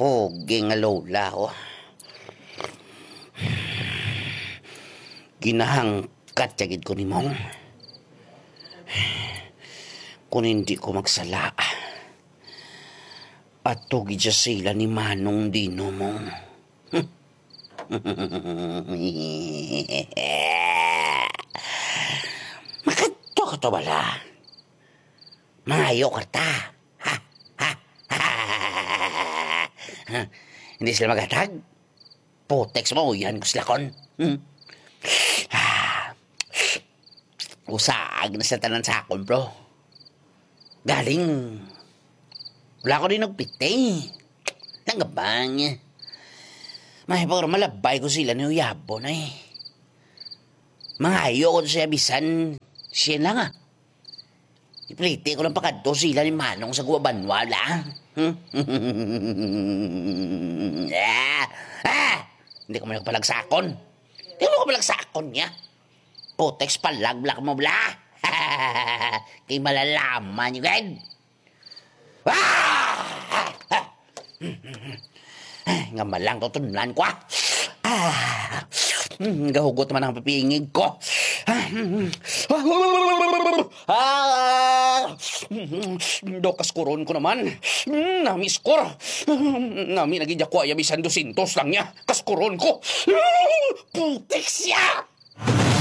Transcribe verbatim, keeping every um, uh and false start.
Pogi nga lola, oh. Ginahangkat ya gid ko ni Mong. Kung hindi ko magsala, ato gid siya sila ni Manong Dino, Mong. Makadto ka to bala. Mangayo ka ta. Ha? Ha? Hindi sila maghatag? Putek sa mauyan ko sila kon. Hmm. Ah. Usaag na sa tanan sa akon, bro. Galing. Wala ko din nagpiti. Nangabang. May pa malabay ko sila ni uyabo na eh. Mangayo ko siya bisan siya lang ah. Ipliti ko lang pakadto sila ni Manong sa Guabanwa lang. Hmm? Ah! Ah! Hindi ko man nagpalagsakon. Hindi mo ko palagsakon niya. Putex palagblak mo bla. Kay malalaman niyo gid. Ah! Nga malang to tunlan ko ah. Ah! Mm, gahugot man ang pipingig ko. Ah! Ah! Do kaskuron ko naman. Mm, namiskor. Mm, nami naging dakwa ya bisan dosyentos lang niya. Kaskuron ko. Putik siya!